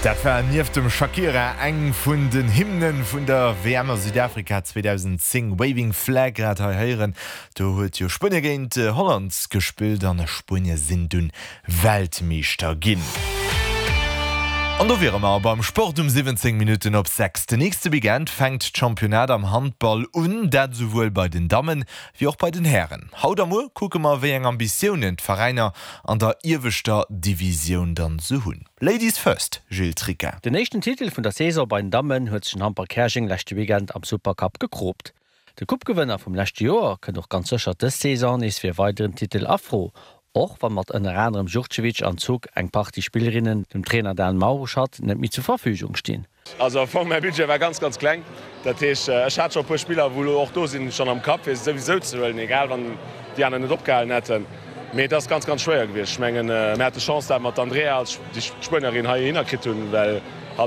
Dat war nieft dem Shakira eng vun den Hymnen vun der WM a Südafrika 2010, Waving Flag, grad hei héieren. Do huet jo Spuenie géint Holland gespillt an Spuenie sinn dunn Weltmeeschter ginn. An do wiere mer beim Sport um 17 Minutten op 6. Den nächste Weekend fänkt d'Championnat am Handball un, dat esouwuel bei den Dammen wéi och bei den Hären. Haut a muer kucke mer wéi eng Ambitiounen d'Veräiner an der ieweschter Divisioun dann sou hunn. Ladies first, Gilles Tricca. Den éischten Titel vun der Saison bei den Dammen huet sech den Hamper Käerjeng leschte Weekend am Supercup gekroopt. De Coupe-Gewënner vum leschte Joer kënnt och ganz sécher dës Saison nees fir e weideren Titel a Fro, och wann mat ënner anerem Jurcevic an Zug eng Partie Spillerinnen dem Trainer Dan Mauruschatt net méi zur Verfügung stinn. Also am Fong, mäi Budget war ganz, ganz kleng. Dat heescht, ech hat scho e puer Spiller, wou elo och do sinn, schonn am Kapp, fir se souwisou ze huelen, egal wann déi aner net opgehalen hätten. Mee et ass ganz, ganz schwéier gewiescht. Ech mengen, mir hate Chance, dat mer d'Andrea als déi Spuenierin heihinner kritt hunn, well.